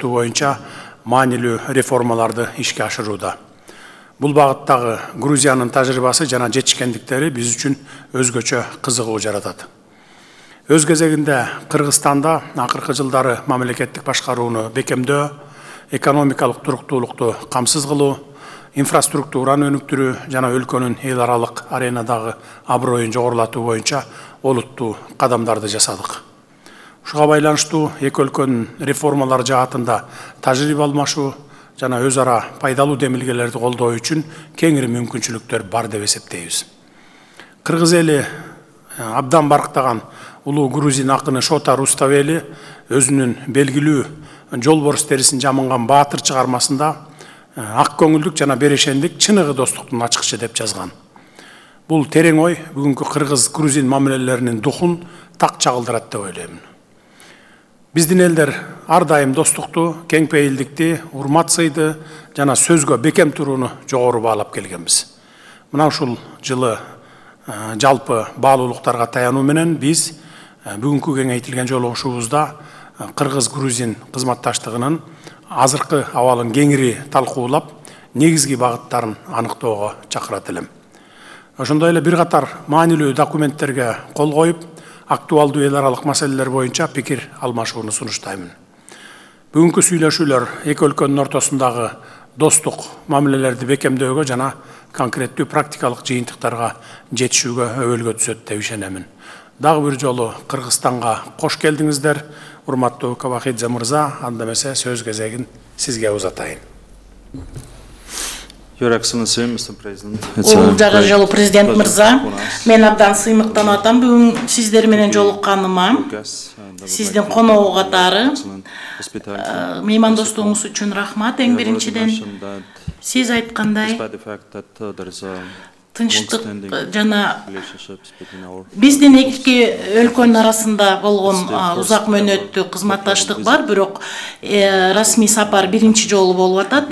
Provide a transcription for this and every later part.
жакшыртуу боюнча маанилүү реформаларды ишке ашырууда. Бул багыттагы Грузиянын тажрыйбасы жана жетишкендиктери биз үчүн өзгөчө кызыгуу жаратат. Өз кезегинде Кыргызстанда акыркы жылдары мамлекеттик башкарууну бекемдөө, экономикалык туруктуулукту камсыз кылуу, инфраструктураны өнүктүрүү жана өлкөнүн эл аралык аренадагы аброюн жогорулатуу боюнча олуттуу кадамдарды жасадык. Ушуга байланыштуу эки өлкөнүн реформалар жаатында тажрыйба алмашуу жана өз ара пайдалуу демилгелерди колдоо үчүн кеңири мүмкүнчүлүктөр бар деп эсептейбиз. Кыргыз эли абдан барктаган улуу грузин акыны Шота Руставели өзүнүн белгилүү жолборс терисин жамынган баатыр чыгармасында ак көңүлдүк жана берешендик чыныгы достуктун ачкычы деп жазган. Бул терең ой бүгүнкү кыргыз-грузин мамилелеринин духун так чагылдырат деп ойлойм. Биздин элдер ар дайым достукту, кеңпейилдикти, урмат сыйды жана сөзгө бекем турууну жогору баалап келгенбиз. Мына ушул жылы жалпы баалуулуктарга таянуу менен биз бүгүнкү кеңейтилген жолугушуубузда кыргыз-грузин кызматташтыгынын азыркы абалын кеңири талкуулап, негизги багыттарын аныктоого чакырат элем. Ошондой эле бир катар маанилүү документтерге кол коюп, актуалдуу эл аралык маселелер боюнча пикир алмашууну сунуштаймын. Бүгүнкү сүйлөшүүлөр эки өлкөнүн ортосундагы достук мамилелерди бекемдөөгө жана конкреттүү практикалык жыйынтыктарга жетишүүгө өбөлгө түзөт деп ишенемин. Дагы бир жолу Кыргызстанга кош келдиңиздер, урматтуу Кабахидзе мырза, анда эмесе сөз кезегин сизге узатайын. Your Excellency, Mr. President. Жагы жолу президент мырза, мен абдан сыймыктанып атам бүгүн сиздер менен жолукканыма. Сиздин коногу катары меймандостугуңуз үчүн рахмат. Эң биринчиден сиз айткандай тынчтык жана биздин эки өлкөнүн арасында болгон узак мөөнөттүү кызматташтык бар, бирок расмий сапар биринчи жолу болуп атат.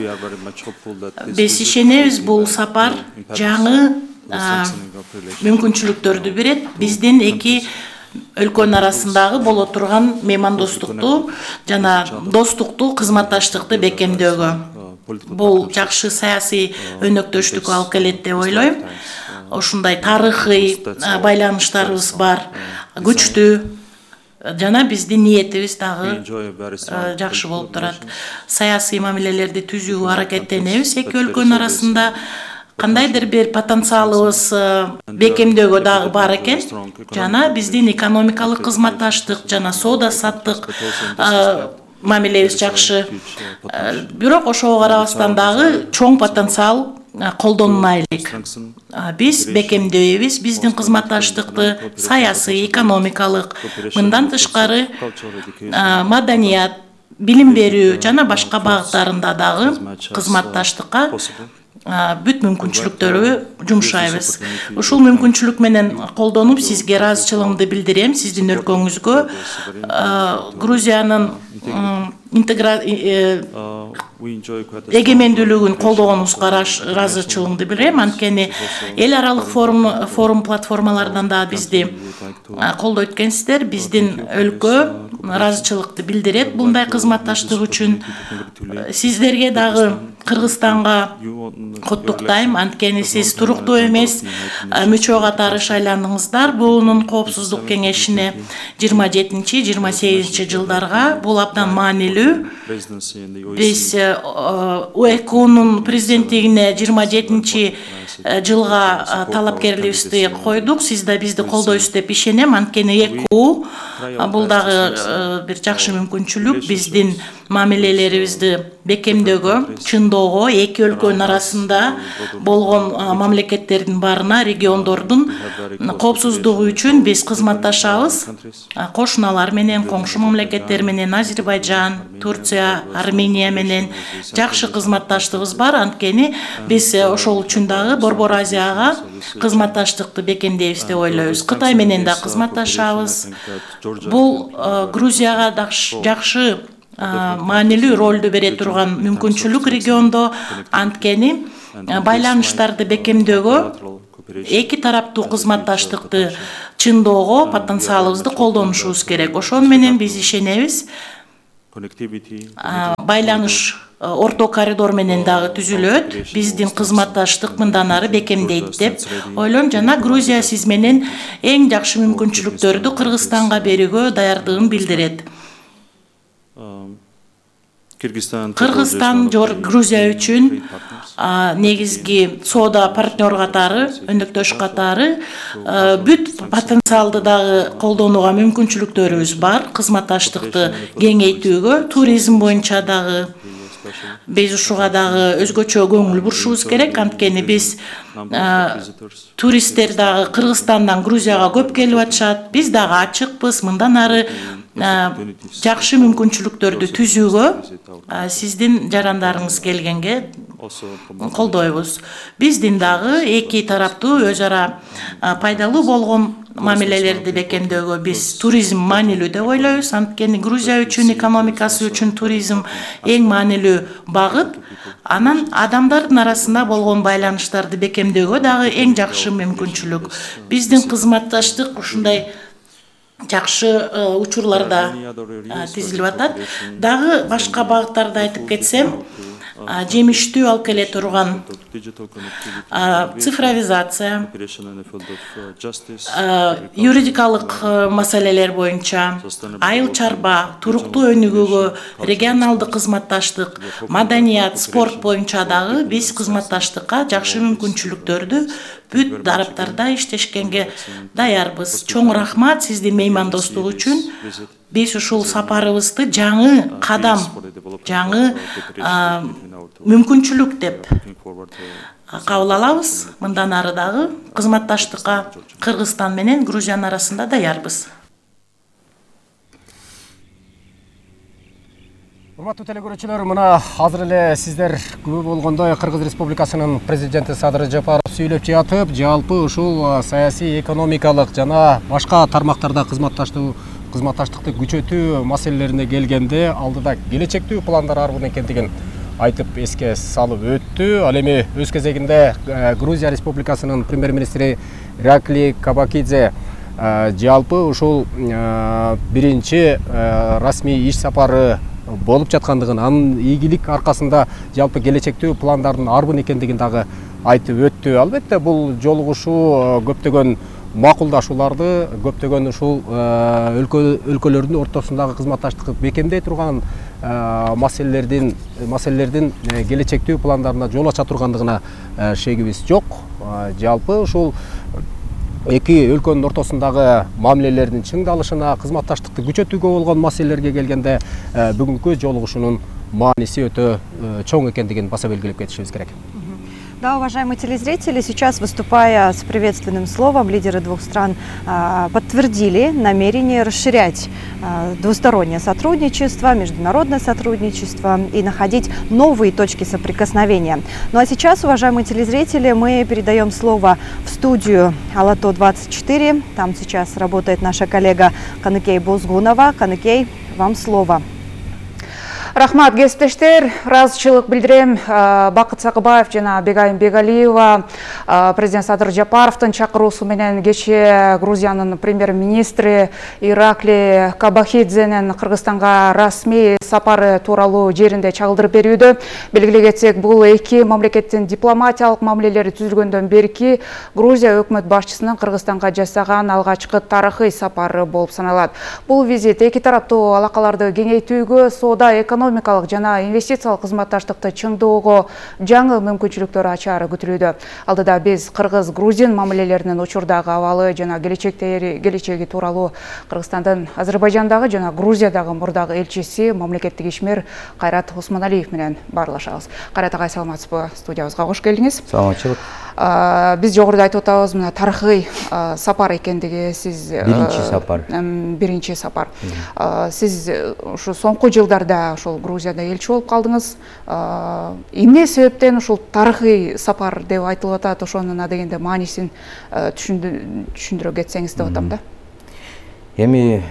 Биз ишенебиз, бул сапар жаңы мүмкүнчүлүктөрдү берет. Биздин эки өлкөнүн арасындагы боло турган меймандостукту жана достукту кызматташтыкты бекемдөөгө. Бул жакшы саясий өнөктөштүккө алып келет деп ойлойм. Ошундай тарыхый байланыштарыбыз бар, күчтүү жана биздин ниетибиз дагы жакшы болуп турат. Саясий мамилелерди түзүүгө аракеттенебиз эки өлкөнүн арасында. Кандайдыр бир потенциалыбыз бекемдөөгө дагы бар экен. Жана биздин экономикалык кызматташтык жана соода саттык мамилебиз жакшы. Бирок ошого карабастан дагы чоң потенциал колдонулайлык. Биз бекемдөйбүз биздин кызматташтыкты саясий, экономикалык, мындан тышкары маданият, билим берүү жана башка багыттарында дагы кызматташтыкка бүт мүмкүнчүлүктөрү жумшайбыз. Ушул мүмкүнчүлүк менен колдонуп сизге ыраазычылыгымды билдирем сиздин өлкөңүзгө. Грузиянын эгемендүүлүгүн колдогонуңузга ыраазычылыгымды билдирем. Анткени эл аралык форум платформалардан да бизди колдоо эткенсиздер. Биздин өлкө ыраазычылыкты билдирет мындай кызматташтык үчүн. Сиздерге дагы Кыргызстанга куттуктайм. Анткени сиз туруктуу эмес мүчө катары шайландыңыздар БУнун коопсуздук кеңешине 27-28 жылдарга. Бул абдан маанилүү. Биз УЭКУнун президенттигине 27 жылга талапкерлигибизди койдук. Сиз да бизди колдойсуз деп ишенем. Анткени ЭКУ бул дагы бир жакшы мүмкүнчүлүк биздин мамилелерибизди бекемдөөгө, чындоого, эки өлкөнүн арасында болгон мамлекеттердин баарына, региондордун коопсуздугу үчүн биз кызматташабыз. Кошуналар менен, коңшу мамлекеттер менен, Азербайжан, Турция, Армения менен жакшы кызматташтыгыбыз бар. Анткени биз ошол үчүн дагы Борбор Азияга кызматташтыкты бекемдейбиз деп ойлойбуз. Кытай менен да кызматташабыз. Бул Грузияга жакшы маанилүү ролду бере турган мүмкүнчүлүк региондо. Анткени байланыштарды бекемдөөгө, эки тараптуу кызматташтыкты чындоого потенциалыбызды колдонушубуз керек. Ошону менен биз ишенебиз. байланыш орто коридор менен дагы түзүлөт. Биздин кызматташтык мындан ары бекемдейт деп ойлойм. Жана Грузия сиз менен эң жакшы мүмкүнчүлүктөрдү Кыргызстанга берүүгө даярдыгын билдирет. Кыргызстан Грузия үчүн негизги соода партнер катары, өнөктөш катары бүт потенциалды дагы колдонууга мүмкүнчүлүктөрүбүз бар. Кызматташтыкты кеңейтүүгө, туризм боюнча дагы биз ушуга дагы өзгөчө көңүл бурушубуз керек. Анткени биз туристтер дагы Кыргызстандан Грузияга көп келип атышат. Биз дагы ачыкпыз. Мындан ары жакшы мүмкүнчүлүктөрдү түзүүгө сиздин жарандарыңыз келгенге колдойбуз. Биздин дагы эки тараптуу өз ара пайдалуу болгон мамилелерди бекемдөөгө биз туризм маанилүү деп ойлойбуз. Анткени Грузия үчүн, экономикасы үчүн туризм эң маанилүү багыт. Анан адамдардын арасында болгон байланыштарды бекемдөөгө дагы эң жакшы мүмкүнчүлүк. Биздин кызматташтык ушундай жакшы учурларда тизилип атат. Дагы башка багыттарды айтып кетсем, жемиштүү алып келе турган цифровизация, юридикалык маселелер боюнча, айыл чарба, туруктуу өнүгүүгө регионалдык кызматташтык, маданият, спорт боюнча дагы биз кызматташтыкка жакшы мүмкүнчүлүктөрдү бүт тараптарда иштешкенге даярбыз. Чоң рахмат сиздин меймандостук үчүн. Биз ушул сапарыбызды жаңы кадам, жаңы мүмкүнчүлүк деп кабыл алабыз. Мындан ары дагы кызматташтыкка Кыргызстан менен Грузиянын арасында даярбыз. Урматтуу телекөрүүчүлөр, мына азыр эле сиздер күбө болгондой Кыргыз Республикасынын президенти Садыр Жапаров сүйлөп жатып, жалпы ушул саясий, экономикалык жана башка тармактарда кызматташтыкты күчөтүү маселелерине келгенде алдыда келечектүү пландар арбын экендигин айтып эске салып өттү. Ал эми өз кезегинде Грузия Республикасынын премьер-министри Иракли Кабакидзе жалпы ушул биринчи расмий иш сапары болуп жаткандыгын, анын ийгилик аркасында жалпы келечектүү пландардын арбын экендигин дагы айтып өттү. Албетте бул жолугушуу көптөгөн макулдашууларды, көптөгөн ушул өлкөлөрдүн ортосундагы кызматташтыкты бекемдей турган маселелердин келечектүү пландарына жол ача тургандыгына шегибиз жок. Жалпы ушул эки өлкөнүн ортосундагы мамилелердин чыңдалышына, кызматташтыкты күчөтүүгө болгон маселелерге келгенде бүгүнкү жолугушуунун мааниси өтө чоң экендигин баса белгилеп кетишибиз керек. Да, уважаемые телезрители, сейчас, выступая с приветственным словом, лидеры двух стран подтвердили намерение расширять двустороннее сотрудничество, международное сотрудничество и находить новые точки соприкосновения. Ну а сейчас, уважаемые телезрители, мы передаем слово в студию Алато-24. Там сейчас работает наша коллега Каныкей Бозгунова. Каныкей, вам слово. Рахмат, кесиптештер, ыраазычылык билдирем. Бакыт Сакыбаев жана Бегайым Бегалиева президент Садыр Жапаровдун чакыруусу менен кечээ Грузиянын премьер-министри Иракли Кабахидзенин Кыргызстанга расмий сапары тууралуу жеринде чагылдырып берүүдө. Белгилей кетсек, бул эки мамлекеттин дипломатиялык мамилелери түзүлгөндөн берки Грузия өкмөт башчысынын Кыргызстанга жасаган алгачкы тарыхый сапары болуп саналат. Бул визит эки тараптуу алакаларды кеңейтүүгө, соода, экономикалык жана инвестициялык кызматташтыкты чыңдоого жаңы мүмкүнчүлүктөр ачаары күтүлүүдө. Алдыда биз Кыргыз-Грузин мамилелеринин учурдагы абалы жана келечеги тууралуу Кыргызстандын Азербайжандагы жана Грузиядагы мурдагы элчиси мамлекеттик ишмер Кайрат Усманалиев менен баарлашабыз. Кайрат агай, саламатсызбы? Студиябызга кош келдиңиз. Саламатчылык. Биз жогоруда айтып атабыз, мына тарыхый сапар экендиги, сиз биринчи сапар. Сиз ушу соңку жылдарда ушул Грузияда элчи болуп калдыңыз. Эмне себептен ушул тарыхый сапар деп айтылып атат? Ошонун адегенде маанисин түшүндүрө кетсеңиз деп атам да. Эми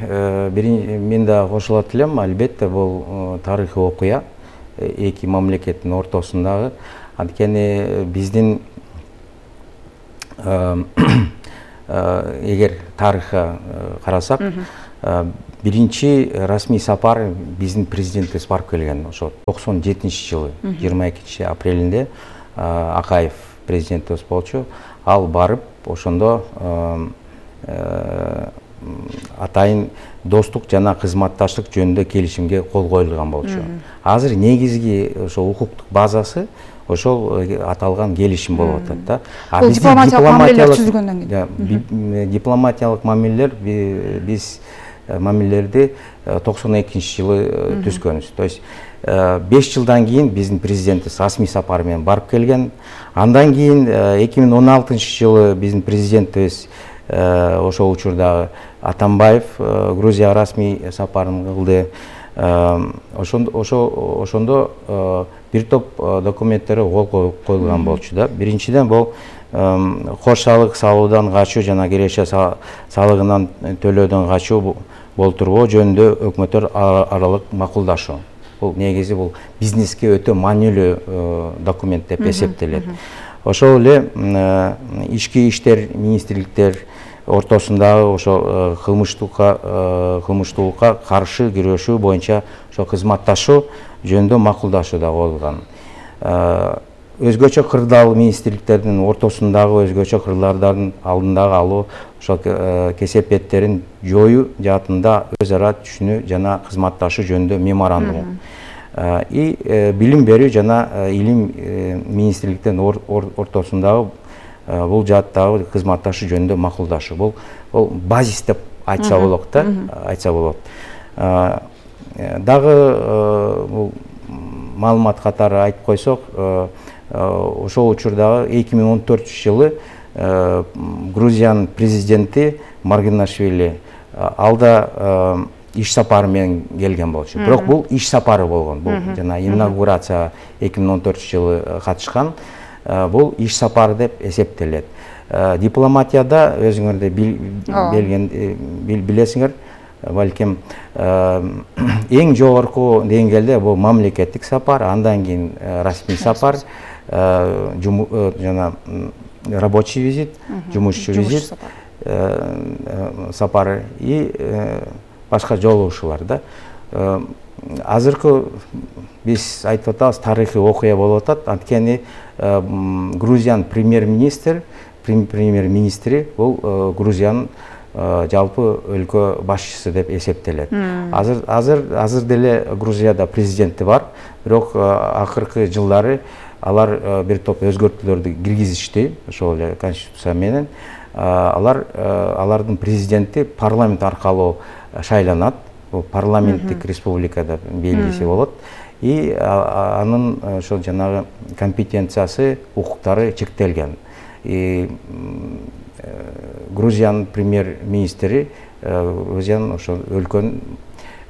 мен да кошулат элем, албетте бул тарыхый окуя эки мамлекеттин ортосундагы. Анткени биздин эгер тарыхка карасак, биринчи расмий сапар биздин президентибиз барып келген ошо 97-жылы 22 апрелинде Акаев президентибиз болчу. Ал барып ошондо атайын достук жана кызматташтык жөнүндө келишимге кол коюлган болчу. Азыр негизги ошо укуктук базасы ошол аталган келишим болуп атат да. Бул дипломатиялык мамилелер түзүлгөндөн кийин. Дипломатиялык мамилелер биз мамилелерди 92-жылы түзгөнбүз. То есть 5 жылдан кийин биздин президентибиз расмий сапар менен барып келген. Андан кийин 2016-жылы биздин президентибиз ошол учурдагы Атамбаев Грузияга расмий сапарын кылды. Ошондо бир топ документтерге кол коюлган болчу да. Биринчиден бул кош салык салуудан качуу жана киреше салыгынан төлөөдөн качуу болтурбоо жөнүндө өкмөттөр аралык макулдашуу. Бул негизи бул бизнеске өтө маанилүү документ деп эсептелет. Ошол эле ички иштер министрликтер ортосундагы ошо кылмыштуулукка каршы күрөшүү боюнча ошо кызматташуу жөнүндө макулдашуу да болгон. Өзгөчө кырдаал министрликтердин ортосундагы өзгөчө кырлардын алдындагы алуу ошол кесепеттерин жоюу жаатында өз ара түшүнүү жана кызматташуу жөнүндө меморандум. Билим берүү жана илим министрликтердин ортосундагы бул жааттагы кызматташуу жөнүндө макулдашуу. Бул базис деп айтса болот да, айтса болот. Дагы бул маалымат катары айтып койсок, ошол учурдагы 2014-жылы Грузиянын президенти Маргинашвили алда иш сапары менен келген болчу. Бирок бул иш сапары болгон. Бул жана инаугурацияга 2014-жылы катышкан. Бул иш сапары деп эсептелет. Дипломатияда өзүңөрдө билесиңер, балким эң жогорку деңгээлде бул мамлекеттик сапар, андан кийин расмий сапар, жана рабочий визит, жумушчу визит сапары и башка жолугушуулар да. Азыркы биз айтып атабыз, тарыхый окуя болуп атат. Анткени Грузиянын премьер-министри бул Грузиянын жалпы өлкө башчысы деп эсептелет. Азыр деле Грузияда президенти бар, бирок акыркы жылдары алар бир топ өзгөртүүлөрдү киргизишти, ошол эле конституция менен. Алардын президенти парламент аркылуу шайланат. Бул парламенттик республикада белгиси болот. И анын ошол жанагы компетенциясы, укуктары чектелген. Грузиянын премьер-министри Грузиянын ошол өлкөнүн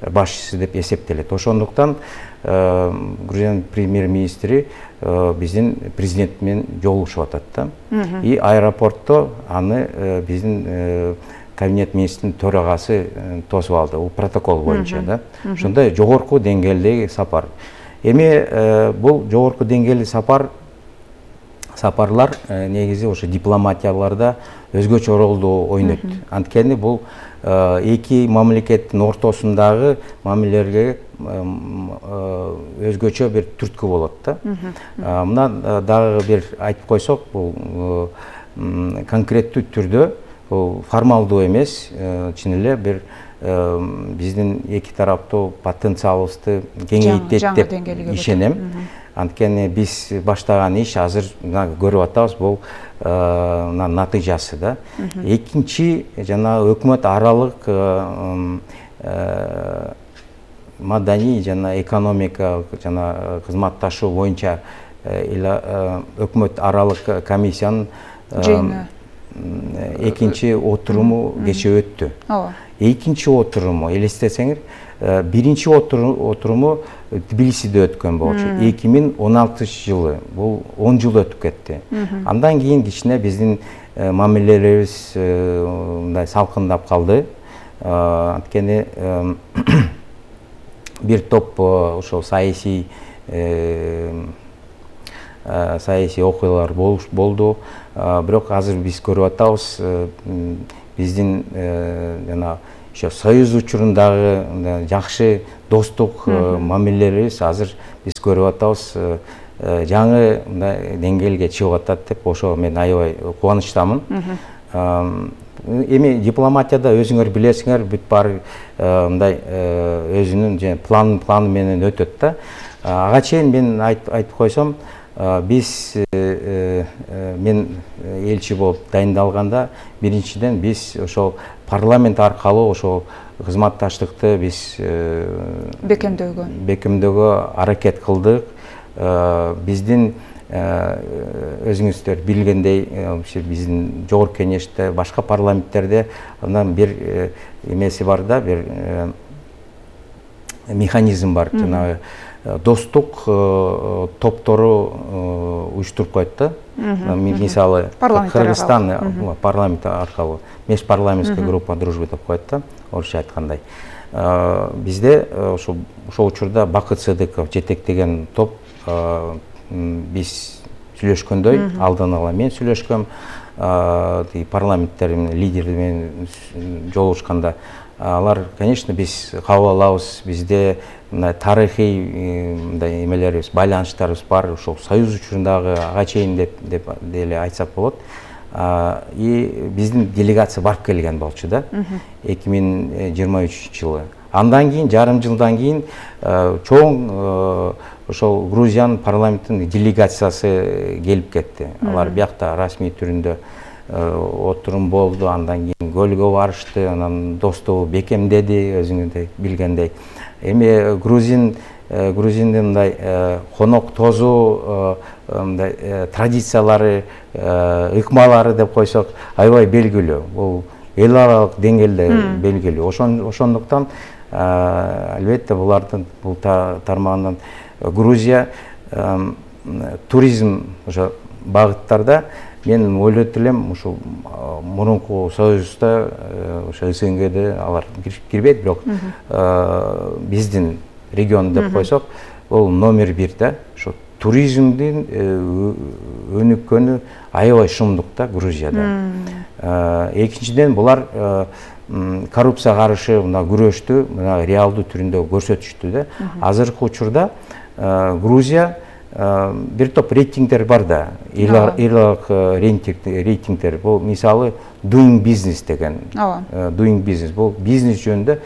башчысы деп эсептелет. Ошондуктан Грузиянын премьер-министри биздин президент менен жолугушуп атат да. И аэропортто аны биздин кабинет министринин төрагасы тосуп алды. Бул протокол боюнча да. Ошондой жогорку деңгээлдеги сапар. Эми бул жогорку деңгээлдеги сапарлар негизи ошо дипломатияларда өзгөчө ролду ойнойт. Анткени бул эки мамлекеттин ортосундагы мамилелерге өзгөчө бир түрткү болот да. Мына дагы бир айтып койсок, бул конкреттүү түрдө формалдуу эмес, чын эле бир биздин эки тараптуу потенциалыбызды кеңейтет деп ишенем. Анткени биз баштаган иш азыр көрүп атабыз, бул натыйжасы да. Экинчи жана өкмөт аралык маданий жана экономикалык жана кызматташуу боюнча өкмөт аралык комиссиянын экинчи отуруму кече өттү. Экинчи отуруму элестетсеңер, биринчи отуруму Тбилисиде өткөн болчу. 2016-жылы, бул 10 жыл өтүп кетти. Андан кийин кичине биздин мамилелерибиз мындай салкындап калды. Анткени бир топ ошол саясий окуялар болду. Бирок азыр биз көрүп атабыз, биздин жана ошо союз учурундагы жакшы достук мамилелерибиз азыр биз көрүп атабыз жаңы деңгээлге чыгып атат деп ошо мен аябай кубанычтамын. Эми дипломатияда өзүңөр билесиңер, бүт баары мындай өзүнүн планы менен өтөт да. Ага чейин мен айтып койсом, биз мен элчи болуп дайындалганда биринчиден биз ошол парламент аркылуу ошол кызматташтыкты биз бекемдөөгө аракет кылдык. Биздин өзүңүздөр билгендей, биздин жогорку кеңеште, башка парламенттерде андан бир эмеси бар да, бир механизм бар. Жанагы достук топтору уюштуруп коет да. Мисалы Кыргызстан парламенти аркылуу межпарламенттик группа дружбы деп коет да, орусча айткандай. Бизде ошол учурда Бакыт Сыдыков жетектеген топ биз сүйлөшкөндөй, алдан ала мен сүйлөшкөм, парламенттердин лидери менен жолугушканда алар, конечно, биз кабыл алабыз, бизде тарыхый эмелерибиз, байланыштарыбыз бар, ошол союз учурундагы ага чейин деп деле айтсак болот. И биздин делегация барып келген болчу да, 2023 жылы. Андан кийин, жарым жылдан кийин чоң ошол Грузиянын парламенттин делегациясы келип кетти. Алар биякта расмий түрүндө отурум болду, андан кийин көлгө барышты, анан достугу бекемдеди, өзүңүздөр билгендей. Эми Грузиндин мындай конок тозу традициялары, ыкмалары деп койсок, аябай белгилүү. Бул эл аралык деңгээлде белгилүү. Ошондуктан албетте булардын бул тармагынан Грузия туризм ошо багыттарда мен ойлойт элем, ушул мурунку союзда ошо СНГде алар кирбейт, бирок биздин регион деп койсок, бул номер 1 да. Ошо туризмдин өнүккөнү аябай шумдук да Грузияда. Экинчиден булар коррупцияга каршы күрөштү реалдуу түрүндө көрсөтүштү да. Азыркы учурда Грузия бир топ рейтингдер бар да, эларалык рейтингдер. Бул мисалы Doing Business деген. Doing Business бул бизнес жөнүндө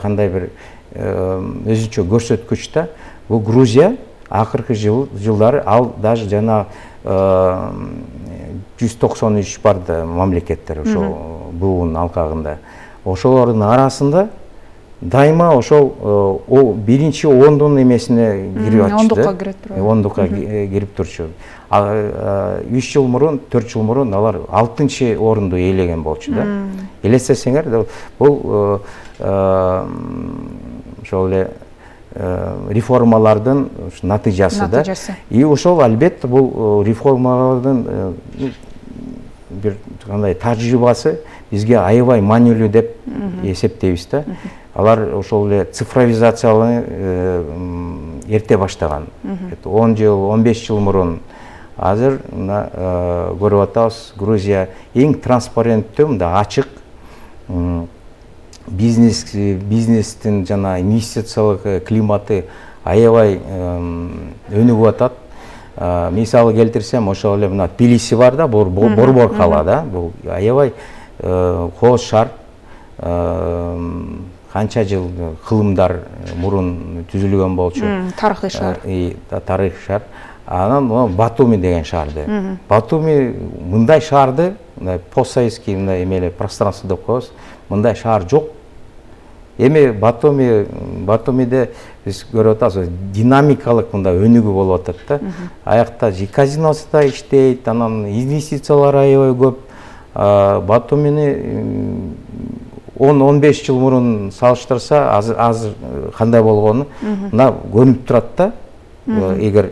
кандай бир өзүнчө көрсөткүч да. Бул Грузия акыркы жылдары ал даже жана 193 бар да мамлекеттер ошол буунун алкагында. Ошолордун арасында дайыма ошол биринчи ондун эмесине кирип атышты. Ондукка кирип турчу. 3 жыл мурун, 4 жыл мурун алар 6-чы орунду ээлеген болчу да. Элестесеңер, бул ошол эле реформалардын натыйжасы да. И ошол албетте бул реформалардын бир кандай тажрыйбасы бизге аябай маанилүү деп эсептейбиз да. Алар ошол эле цифровизацияланы эрте баштаган. 10 жыл, 15 жыл мурун. Азыр көрүп атабыз, Грузия эң транспаренттүү, мындай ачык бизнестин жана инвестициялык климаты аябай өнүгүп атат. Мисалы келтирсем, ошол эле мына Тбилиси бар да, борбор кала да. Бул аябай кооз шаар. Канча жыл кылымдар мурун түзүлгөн болчу. Тарыхый шаар. Тарыхый шаар. Анан Батуми деген шаарды. Батуми мындай шаарды, постсоветский мындай эмеле пространство деп коебуз. Мындай шаар жок. Эми Батумиде биз көрүп атабыз, динамикалык мындай өнүгүү болуп атат да. Аякта казиносы да иштейт, анан инвестициялар аябай көп. Батумини 10-15 жыл мурун салыштырса, азыр кандай болгону мына көрүнүп турат да. Эгер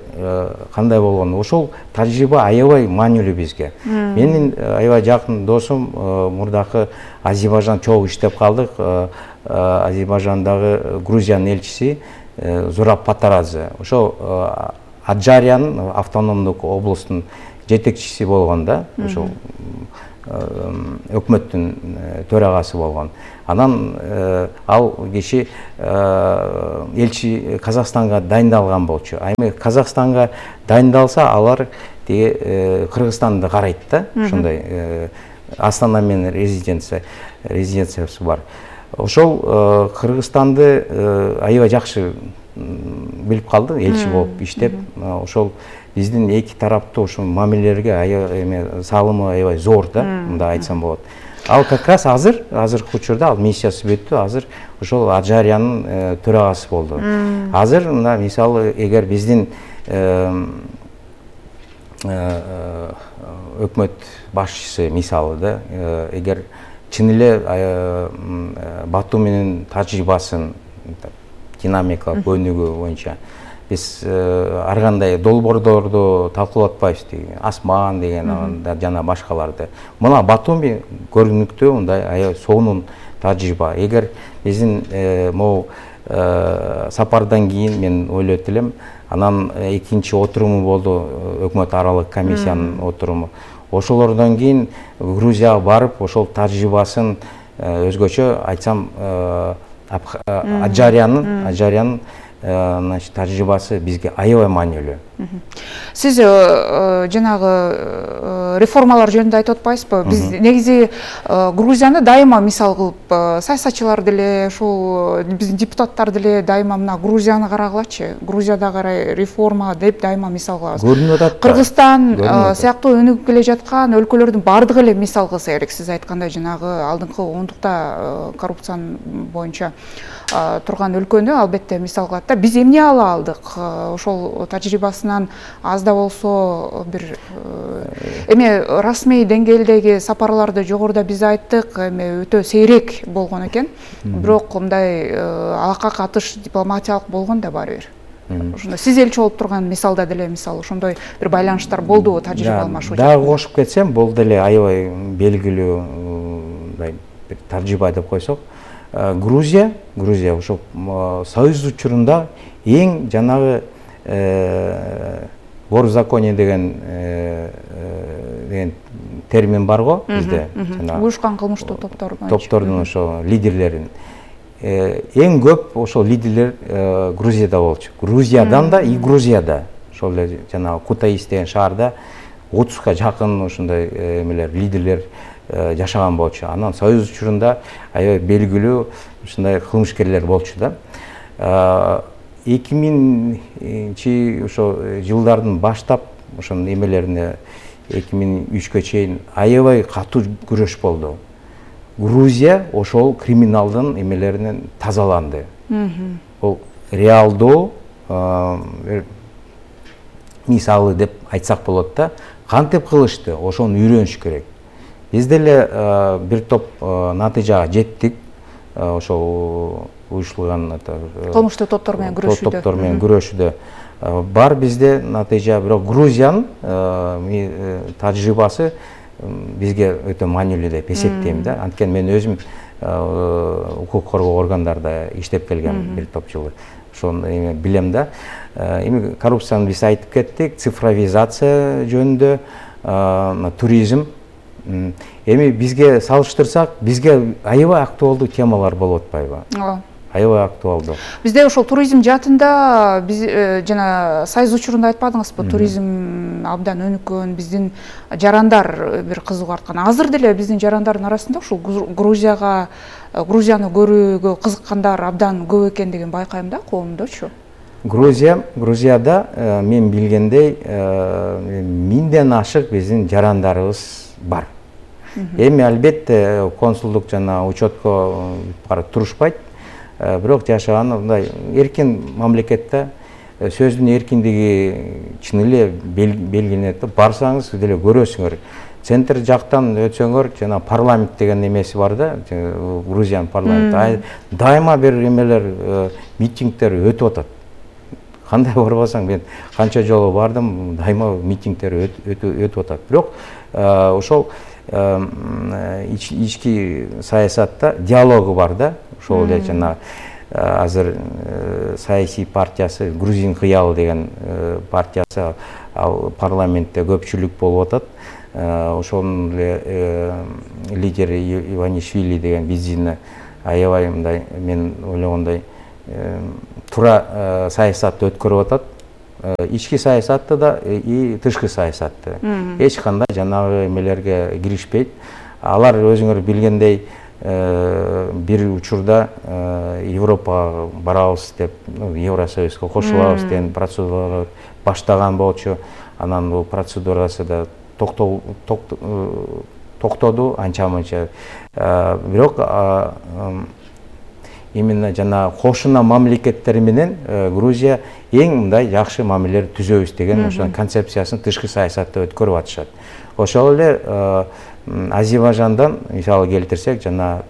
кандай болгону, ошол тажрыйба аябай маанилүү бизге. Менин аябай жакын досум мурдакы Азербайжан чогуу иштеп калдык. Азербайжандагы Грузиянын элчиси Зураб Патарадзе. Ошо Аджарянын автономдук облустун жетекчиси болгон да. Ошол өкмөттүн төрагасы болгон. Анан ал киши элчи Казакстанга дайындалган болчу. Эми Казакстанга дайындалса алар тиги Кыргызстанды карайт да, ушундай Астана менен резиденциясы бар. Ошол Кыргызстанды аябай жакшы билип калды, элчи болуп иштеп. Ошол биздин эки тараптуу ошо мамилелерге салымы аябай зор да, мындай айтсам болот. Ал как раз азыркы учурда ал миссиясы бүттү, азыр ошол Аджарянын төрагасы болду. Азыр мына мисалы эгер биздин өкмөт башчысы мисалы да, эгер чын эле Бату менен тажрыйбасын динамикалык өнүгүү боюнча биз ар кандай долбоордорду талкуулап атпайбыз, Асман деген жана башкаларды. Мына Батуми көрүнүктүү мындай аябай сонун тажрыйба. Эгер биздин могу сапардан кийин мен ойлойт элем, анан экинчи отуруму болду, өкмөт аралык комиссиянын отуруму. Ошолордон кийин Грузияга барып, ошол тажрыйбасын өзгөчө айтсам Аджарянын тажрыйбасы бизге аябай маанилүү. Сиз жанагы реформалар жөнүндө айтып атпайсызбы? Биз негизи Грузияны дайыма мисал кылып, саясатчылар деле, ушул биздин депутаттар деле дайыма мына Грузияны карагылачы, Грузияда карай реформа деп дайыма мисал кылабыз. Көрүнүп атат. Кыргызстан сыяктуу өнүгүп келе жаткан өлкөлөрдүн бардыгы эле мисал кылса керек. Сиз айткандай жанагы алдыңкы ондукта коррупциянын боюнча турган өлкөнү албетте мисал кылат да. Биз эмне ала алдык? Ошол тажрыйбасынан аз да болсо бир эми расмий деңгээлдеги сапарларды жогоруда биз айттык, эми өтө сейрек болгон экен. Бирок мындай алакка катыш дипломатиялык болгон да баары бир. Ошондо сиз элчи болуп турган мисалда деле мисалы ошондой бир байланыштар болдубу, тажрыйба алмашуу? Дагы кошуп кетсем, бул деле аябай белгилүү мындай бир тажрыйба деп койсок, Грузия ошо союз учурунда эң жанагы горзаконие деген термин бар го бизде. Уюшкан кылмыштуу топтордун ошо лидерлерин. Эң көп ошол лидерлер Грузияда болчу. Грузиядан да и Грузияда. Ошол эле жанагы Кутаис деген шаарда 30га жакын ошондой эмелер, лидерлер жашаган болчу. Анан союз учурунда аябай белгилүү ушундай кылмышкерлер болчу да. 2000 ошо жылдардын баштап ошонун эмелерине 2003гө чейин аябай катуу күрөш болду. Грузия ошол криминалдын эмелеринен тазаланды. Бул реалдуу мисалы деп айтсак болот да. Кантип кылышты? Ошону үйрөнүш керек. Биз деле бир топ натыйжага жеттик. Ошол уюштурулган кылмыштуу топтор менен күрөшүүдө бар бизде натыйжа. Бирок Грузиянын тажрыйбасы бизге өтө маанилүү деп эсептейм да. Анткени мен өзүм укук коргоо органдарда иштеп келгем бир топ жыл. Ошону билем да. Эми коррупцияны биз айтып кеттик, цифровизация жөнүндө, туризм. Эми бизге салыштырсак, бизге аябай актуалдуу темалар болуп атпайбы? Аябай актуалдуу. Бизде ошол туризм жаатында биз жана союз учурунда айтпадыңызбы, туризм абдан өнүккөн, биздин жарандар бир кызыгып аткан. Азыр деле биздин жарандардын арасында ушул Грузияны көрүүгө кызыккандар абдан көп экендигин байкайм да, коомдочу. Грузияда мен билгендей 1000ден ашык биздин жарандарыбыз бар. Эми албетте консулдук жана учетко барып турушпайт. Бирок жашаганы мындай эркин мамлекетте сөздүн эркиндиги чын эле белгиленет. Барсаңыз деле көрөсүңөр. Центр жактан өтсөңөр, жана парламент деген немеси бар да, Грузиянын парламенти. Дайыма бир эмелер, митингдер өтүп атат. Кандай барбасаң, мен канча жолу бардым, дайыма митингдер өтүп атат. Бирок ошол ички саясатта диалогу бар да. Ошол эле жана азыр саясий партиясы, Грузин кыялы деген партиясы ал парламентте көпчүлүк болуп атат. Ошонун эле лидери Иванишвили деген биздин аябай мындай мен ойлогондой туура саясатты өткөрүп атат. Ички саясатты да и тышкы саясатты. Эч кандай жанагы эмелерге киришпейт. Алар өзүңөр билгендей бир учурда Европага барабыз деп, Евросоюзга кошулабыз деген процедуралар баштаган болчу. Анан бул процедурасы да токтоду анча-мынча. Бирок именно жана кошуна мамлекеттер менен Грузия эң мындай жакшы мамилелер түзөбүз деген ошо концепциясын тышкы саясатта өткөрүп атышат. Ошол эле Азербайжандан мисалы келтирсек, жана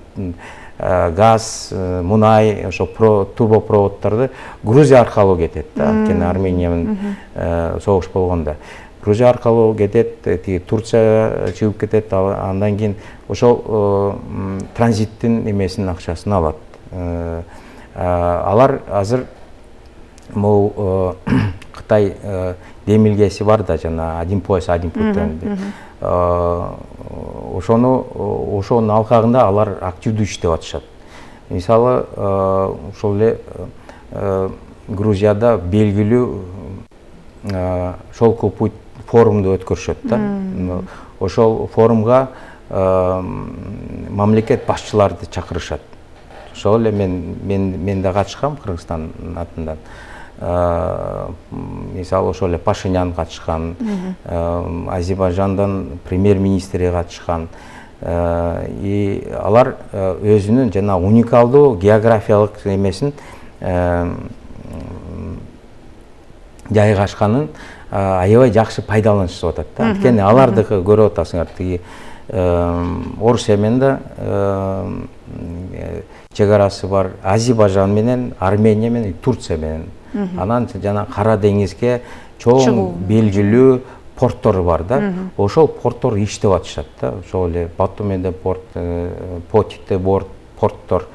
газ, мунай, ошо турбопроводдорду Грузия аркылуу кетет. Анткени Армения менен согуш болгондо Грузия аркылуу кетет, Турция чыгып кетет, андан кийин ошол транзиттин эмесинин акчасын алат. Алар азыр могу Кытай демилгеси бар да, жана один пояс один путь деп. Ошонун алкагында алар активдүү иштеп атышат. Мисалы, ошол эле Грузияда белгилүү Шолку путь форумду өткөрүшөт да. Ошол форумга мамлекет башчыларды чакырышат. Ошол эле мен да катышкам Кыргызстан атынан. Мисалы, ошол эле Пашинян катышкан, Азербайжандан премьер-министри катышкан. И алар өзүнүн жана уникалдуу географиялык эмесин жайгашканын аябай жакшы пайдаланышып атат да. Анткени алардыкы көрүп атасыңар, тиги Орусия менен да чегарасы бар, Азербайжан менен, Армения менен, Турция менен. Анан жана Кара деңизге чоң белгилүү порттор бар да. Ошол порттор иштеп атышат да. Ошол эле Батуменде порт, Потите порттор.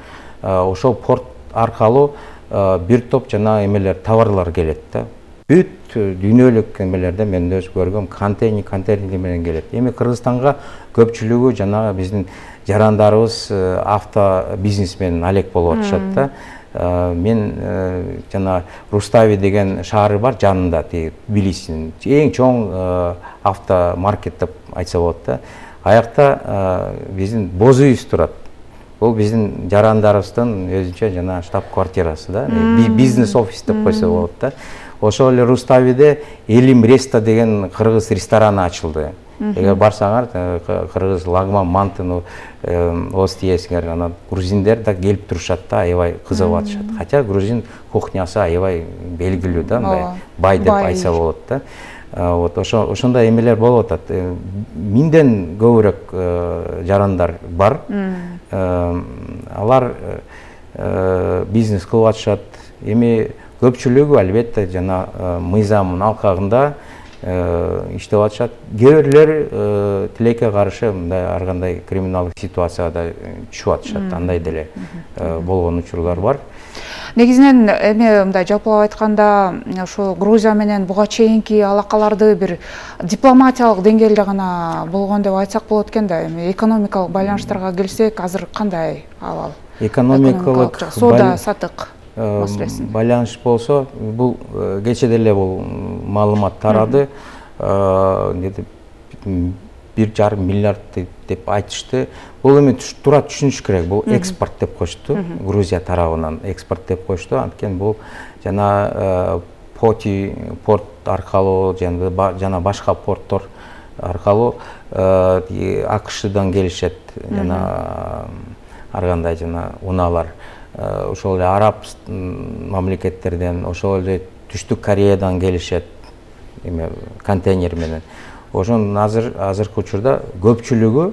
Ошол порт аркылуу бир топ жана эмелер, товарлар келет да. Бүт дүйнөлүк эмелерде мен өз көргөм контейнер менен келет. Эми Кыргызстанга көпчүлүгү жана биздин жарандарыбыз авто бизнес менен алек болуп атышат да. Мен жана Рустави деген шаары бар жанында, Тбилисинин эң чоң автомаркет деп айтса болот да. Аякта биздин боз үйүбүз турат. Бул биздин жарандарыбыздын өзүнчө жана штаб-квартирасы да. Бизнес офис деп койсо болот да. Ошол эле Руставиде Элим Реста деген кыргыз рестораны ачылды. Эгер барсаңар, кыргыз лагман мантыны оз тиесиңер, анан грузиндер да келип турушат да, аябай кызыгып атышат. Хотя грузин кухнясы аябай белгилүү да, мындай бай деп айтса болот да. Вот ошондой эмелер болуп атат. Минден көбүрөөк жарандар бар. Алар бизнес кылып атышат. Эми көпчүлүгү албетте жана мыйзамдын алкагында иштеп атышат. Кээ бирлер тилекке каршы мындай ар кандай криминалдык ситуацияда түшүп атышат. Андай деле болгон учурлар бар. Негизинен эми мындай жалпылап айтканда, ошо Грузия менен буга чейинки алакаларды бир дипломатиялык деңгээлде гана болгон деп айтсак болот экен да. Эми экономикалык байланыштарга келсек, азыр кандай абал? Экономикалык соода сатык байланыш болсо, бул кече деле бул маалымат тарады. 1,5 миллиард деп айтышты. Бул эми туура түшүнүш керек. Бул экспорт деп кошту. Грузия тарабынан экспорт деп кошту. Анткени бул жана Поти порт аркылуу жана башка порттор аркылуу АКШдан келишет жана ар кандай жана унаалар. Ошол эле араб мамлекеттерден, ошол эле Түштүк Кореядан келишет эме контейнер менен. Ошон азыркы учурда көпчүлүгү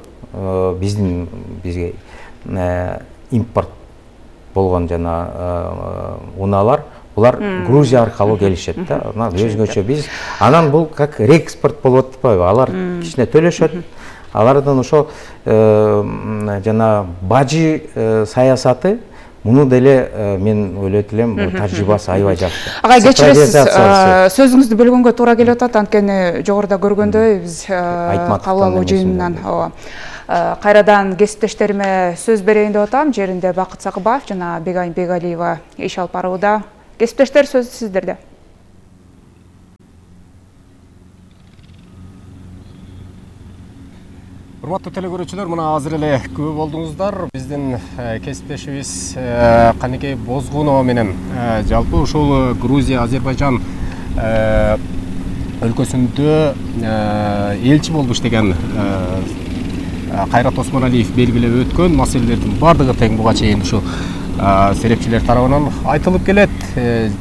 бизге импорт болгон жана унаалар, булар Грузия аркылуу келишет да. Анан өзгөчө биз анан бул как реэкспорт болуп атпайбы? Алар кичине төлөшөт. Алардан ошо жана бажы саясаты муну деле мен ойлойт элем, тажрыйбасы аябай жакшы. Ага, кечиресиз, сөзүңүздү бөлгөнгө туура келип атат, анткени жогоруда көргөндөй биз кабыл алуу жыйынынан Кайрадан кесиптештериме сөз берейин деп атам. Жеринде Бакыт Сакыбаев жана Бегайым Бегалиева иш алып барууда. Кесиптештер, сөз сиздерде. Урматтуу телекөрүүчүлөр, мына азыр эле күбө болдуңуздар. Биздин кесиптешибиз Каникей Бозгунова менен жалпы ушул Грузия, Азербайжан өлкөсүндө элчи болуп иштеген Кайрат Осмоналиев белгилеп өткөн маселелердин бардыгы тең буга чейин ушул серепчилер тарабынан айтылып келет.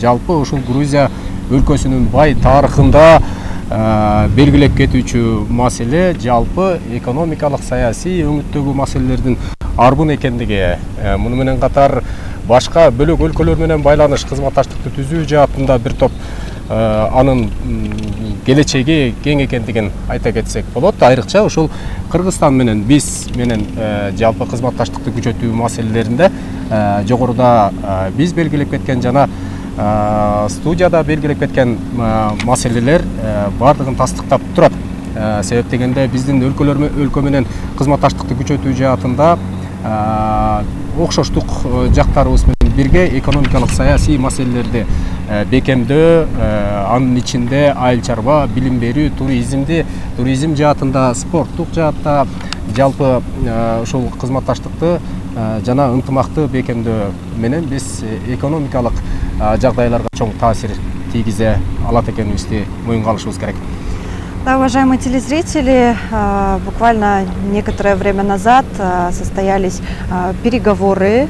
Жалпы ушул Грузия өлкөсүнүн бай тарыхында белгилеп кетүүчү маселе жалпы экономикалык саясий өңүттөгү маселелердин арбын экендиги. Муну менен катар башка бөлөк өлкөлөр менен байланыш, кызматташтыкты түзүү жаатында бир топ анын келечеги кең экендигин айта кетсек болот. Айрыкча ушул Кыргызстан менен биз менен жалпы кызматташтыкты күчөтүү маселелеринде жогоруда биз белгилеп кеткен жана студияда белгилеп кеткен маселелер бардыгын тастыктап турат. Себеп дегенде биздин өлкө менен кызматташтыкты күчөтүү жаатында окшоштук жактарыбыз менен бирге экономикалык саясий маселелерди бекемдөө, анын ичинде айыл чарба, билим берүү, туризм жаатында, спорттук жаатта жалпы ушул кызматташтыкты жана ынтымакты бекемдөө менен биз экономикалык жагдайларга чоң таасир тийгизе алат экенибизди моюнга алышыбыз керек. Да, уважаемые телезрители, буквально некоторое время назад состоялись переговоры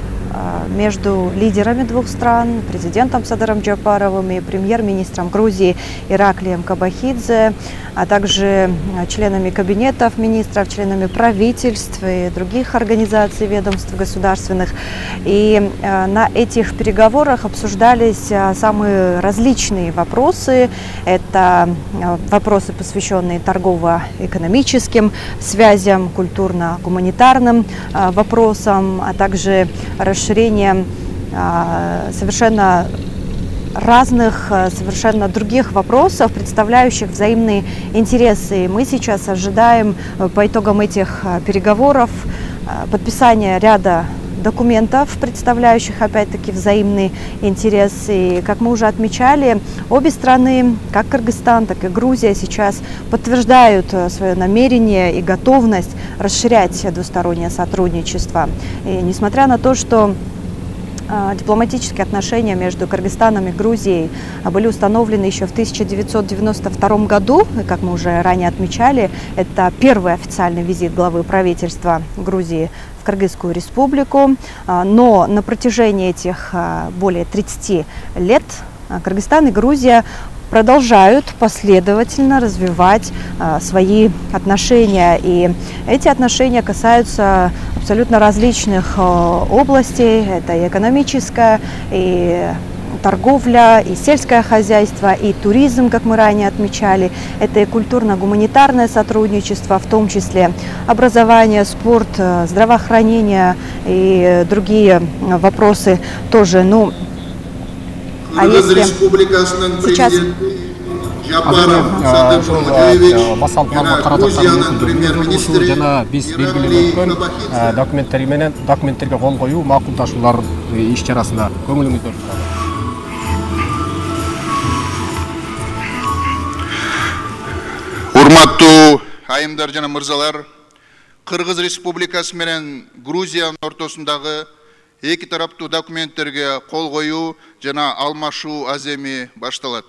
между лидерами двух стран, президентом Садыром Джапаровым и премьер-министром Грузии Ираклием Кабахидзе, а также членами кабинетов министров, членами правительств и других организаций, ведомств государственных. И на этих переговорах обсуждались самые различные вопросы. Это вопросы, посвященные торгово-экономическим связям, культурно-гуманитарным вопросам, а также расширение совершенно разных, совершенно других вопросов, представляющих взаимные интересы. Мы сейчас ожидаем по итогам этих переговоров подписания ряда документов, представляющих опять-таки взаимные интересы. И, как мы уже отмечали, обе страны, как Кыргызстан, так и Грузия, сейчас подтверждают свое намерение и готовность расширять двустороннее сотрудничество. И несмотря на то, что дипломатические отношения между Кыргызстаном и Грузией были установлены еще в 1992 году. И, как мы уже ранее отмечали, это первый официальный визит главы правительства Грузии в Кыргызскую республику. Но на протяжении этих более 30 лет Кыргызстан и Грузия продолжают последовательно развивать свои отношения. И эти отношения касаются абсолютно различных областей. Это и экономическая, и торговля, и сельское хозяйство, и туризм, как мы ранее отмечали. Это и культурно-гуманитарное сотрудничество, в том числе образование, спорт, здравоохранение и другие вопросы тоже. Ну, а если сейчас жана биз белгилеп өткөн документтерге кол коюу макулдашуулар иш чарасында көңүлүңүздө урматтуу айымдар жана мырзалар, Кыргыз Республикасы менен Грузиянын ортосундагы эки тараптуу документтерге кол коюу жана алмашуу аземи башталат.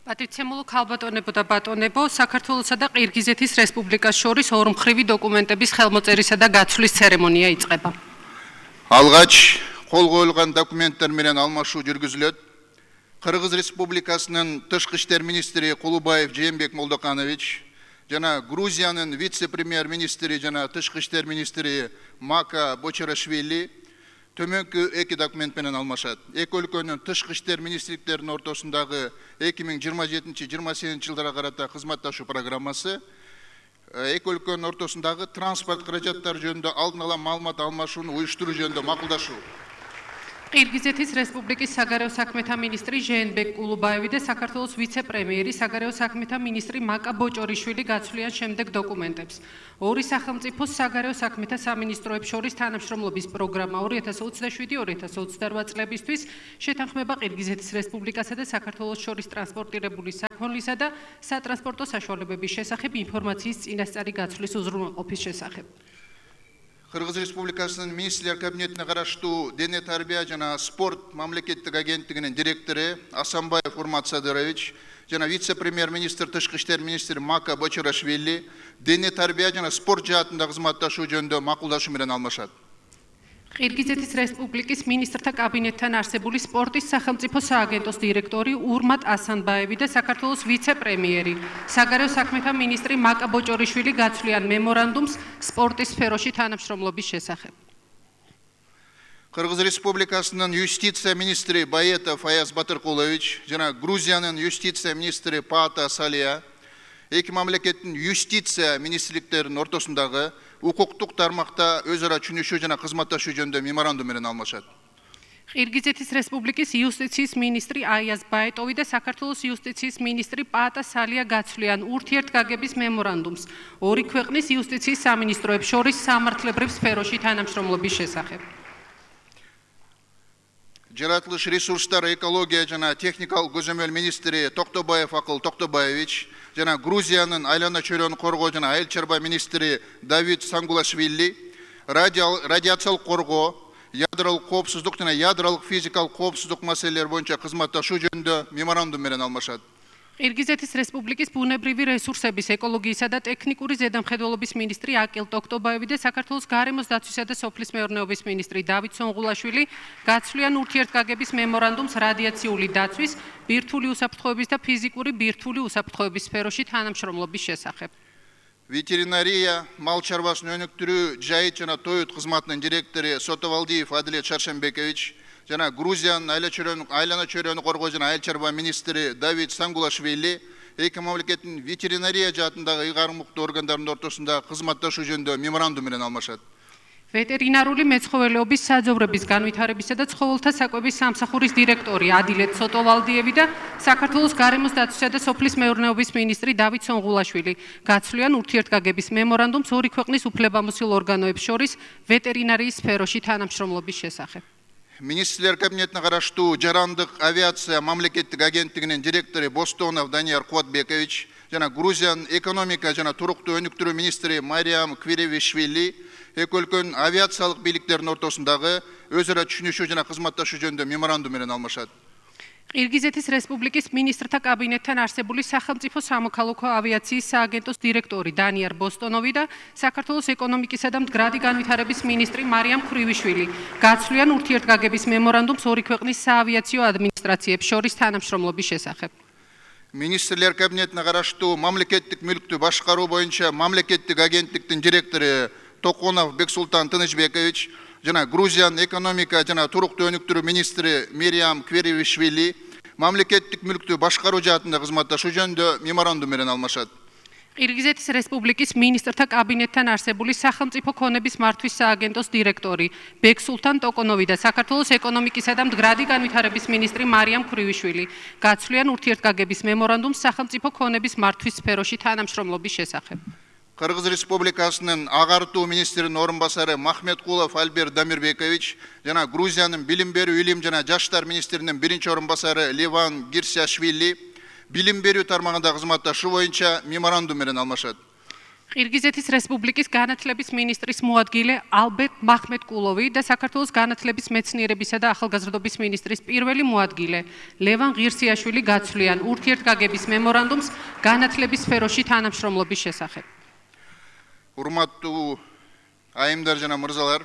Პატიცემულო ქალბატონებო და ბატონებო, საქართველოსა და ყირგიზეთის რესპუბლიკას შორის ორმხრივი დოკუმენტების ხელმოწერისა და გაცვლის ცერემონია იწყება. Алгач кол коюлган документтер менен алмашуу жүргүзүлөт. Кыргыз Республикасынын тышкы иштер министри Кулубаев Жээнбек Молдоканович жана Грузиянын вице-премьер-министри жана тышкы иштер министри Мака Бочарашвили төмөнкү эки документ менен алмашат. Эки өлкөнүн тышкы иштер министрликтеринин ортосундагы 2027-28 жылдарга карата кызматташуу программасы, эки өлкөнүн ортосундагы транспорт каражаттары жөнүндө алдын ала маалымат алмашууну уюштуруу жөнүндө макулдашуу. ყირგიზეთის რესპუბლიკის საგარეო საქმეთა მინისტრი ჟენბეკ კულუბაევი და საქართველოს ვიცე-პრემიერი საგარეო საქმეთა მინისტრი მაკა ბოჭორიშვილი გაცვლიან შემდეგ დოკუმენტებს. ორი სახელმწიფოს საგარეო საქმეთა სამინისტროებს შორის თანამშრომლობის პროგრამა 2027-2028 წლებისთვის შეთანხმება ყირგიზეთის რესპუბლიკასა და საქართველოს შორის ტრანსპორტირებული საქონლისა და სატრანსპორტო საშუალებების შესახებ ინფორმაციის წინასწარი გაცვლის უზრუნველყოფის შესახებ. Кыргыз Республикасынын министрлер кабинетине караштуу дене тарбия жана спорт мамлекеттик агенттигинин директору Асанбаев Урмат Садырович жана вице-премьер-министр тышкы иштер министри Мака Бочорашвили дене тарбия жана спорт жаатында кызматташуу жөнүндө макулдашуу менен алмашат. ყირგიზეთის რესპუბლიკის მინისტრთა კაბინეტთან არსებული სპორტის სახელმწიფო სააგენტოს დირექტორი ურმატ ასანბაევი და საქართველოს ვიცე-პრემიერი საგარეო საქმეთა მინისტრი მაკა ბოჭორიშვილი გაცვლიან მემორანდუმს სპორტის სფეროში თანამშრომლობის შესახებ. Кыргыз Республикасынын юстиция министри Баетов Аяз Батыркулович жана Грузиянын юстиция министри Паата Салия эки мамлекеттин юстиция министрликтеринин ортосундагы укуктук тармакта өз ара түшүнүшүү жана кызматташуу жөнүндө меморандум менен алмашат. ყირგიზეთის რესპუბლიკის იუსტიციის მინისტრი აიაზ ბაეტოვი და საქართველოს იუსტიციის მინისტრი პაატა სალია გაცვლიან ურთიერთგაგების მემორანდუმს ორი ქვეყნის იუსტიციის სამინისტროებს შორის სამართლებრივ სფეროში თანამშრომლობის შესახებ. Жаратылыш ресурстар экология жана техникалык көзөмөл министри Токтобаев Акыл Токтобаевич жана Грузиянын айлана чөйрөнү коргоо жана айыл чарба министри Давид Сангулашвили радиациялык коргоо, ядролук коопсуздук жана ядролук физикалык коопсуздук маселелери боюнча кызматташуу жөнүндө меморандум менен алмашат. ყირგიზეთის რესპუბლიკის ბუნებრივი რესურსების, ეკოლოგიისა და ტექნიკური ზედამხედველობის მინისტრი აკილ ტოქტობაევი და საქართველოს გარემოს დაცვისა და სოფლის მეურნეობის მინისტრი დავით სონღულაშვილი გაცვლიან ურთიერთგაგების მემორანდუმს რადიაციული დაცვის, ბირთვული უსაფრთხოების და ფიზიკური ბირთვული უსაფრთხოების სფეროში თანამშრომლობის შესახებ. Ветеринария, мал чарбасын өнүктүрүү, жайыт жана тоют кызматынын директору Сотовалдиев Адилет Шаршенбекович жана Грузиянын айлана чөйрөнү коргоо жана айыл чарба министри Давид Сангулашвили эки мамлекеттин ветеринария жаатындагы ыйгарымдуу органдарынын ортосунда кызматташуу жөнүндө меморандум менен алмашат. ვეტერინარული მეცხოველეობის საძოვრების განვითარებისა და ცხოველთა საკვების სამსახურის დირექტორი ადილეთ სოტოვალდიევი და საქართველოს გარემოს დაცვისა და სოფლის მეურნეობის მინისტრი დავით სონღულაშვილი გაცვლიან ურთიერთგაგების მემორანდუმს ორი ქვეყნის უფლებამოსილ ორგანოებს შორის ვეტერინარიის სფეროში თანამშრომლობის შესახებ. Министрлер кабинетине караштуу жарандык авиация мамлекеттик агенттигинин директору Бостонов Данияр Куатбекович жана Грузиянын экономика жана туруктуу өнүктүрүү министри Мариам Квиревишвили эки өлкөнүн авиациялык бийликтеринин ортосундагы өз ара түшүнүшүү жана кызматташуу жөнүндө меморандум менен алмашат. ყირგიზეთის რესპუბლიკის მინისტრთა კაბინეტთან არსებული სახელმწიფო სამოქალაქო ავიაციის სააგენტოს დირექტორი დანიარ ბოსტონოვი და საქართველოს ეკონომიკისა და მდგრადი განვითარების მინისტრი მარიამ ქრივიშვილი გაცვლიან ურთიერთგაგების მემორანდუმს ორი ქვეყნის საავიაციო ადმინისტრაციებს შორის თანამშრომლობის შესახებ. Министрлер кабинетине караштуу мамлекеттик мүлктү башкаруу боюнча мамлекеттик агенттиктин директору Токонов Бексултан Тынычбекович жана Грузиянын экономика жана туруктуу өнүктүрүү министри Мириам Квиревишвили мамлекеттик мүлктү башкаруу жаатында кызматташуу жөнүндө меморандум менен алмашат. ყირგიზეთის რესპუბლიკის მინისტრთა კაბინეტთან არსებული სახელმწიფო ქონების მართვის სააგენტოს დირექტორი ბექსულთან ტოკონოვი და საქართველოს ეკონომიკისა და მდგრადი განვითარების მინისტრი მარიამ ქრივიშვილი გაცვლიან ურთიერთგაგების მემორანდუმს სახელმწიფო ქონების მართვის სფეროში თანამშრომლობის შესახებ. Кыргыз Республикасынын агартуу министринин орун басары Махметкулов Альберт Дамирбекович жана Грузиянын билим берүү, илим жана жаштар министринин биринчи орун басары Ливан Гирсиашвили билим берүү тармагында кызматташуу боюнча меморандум менен алмашат. ყირგიზეთის რესპუბლიკის განათლების მინისტრის მოადგილე ალბერტ მახმეტკულოვი და საქართველოს განათლების მეცნიერებისა და ახალგაზრდობის მინისტრის პირველი მოადგილე ლევან ღირსიაშვილი გაცვლიან ურთიერთგაგების მემორანდუმს განათლების სფეროში თანამშრომლობის შესახებ. Урматтуу айымдар жана мырзалар,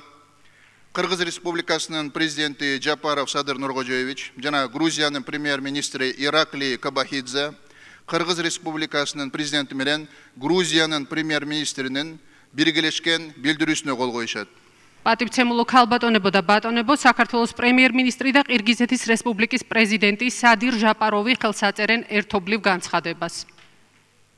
Кыргыз Республикасынын президенти Жапаров Садыр Нуркожоевич жана Грузиянын премьер-министри Иракли Кабахидзе Кыргыз Республикасынын президенти менен Грузиянын премьер-министринин биргелешкен билдирүүсүнө кол коюшат. პატივცემულო ქალბატონებო და ბატონებო, საქართველოს პრემიერ-მინისტრი და ყირგიზეთის რესპუბლიკის პრეზიდენტი სადირ ჟაპაროვი ხელს აწერენ ერთობლივ განცხადებას.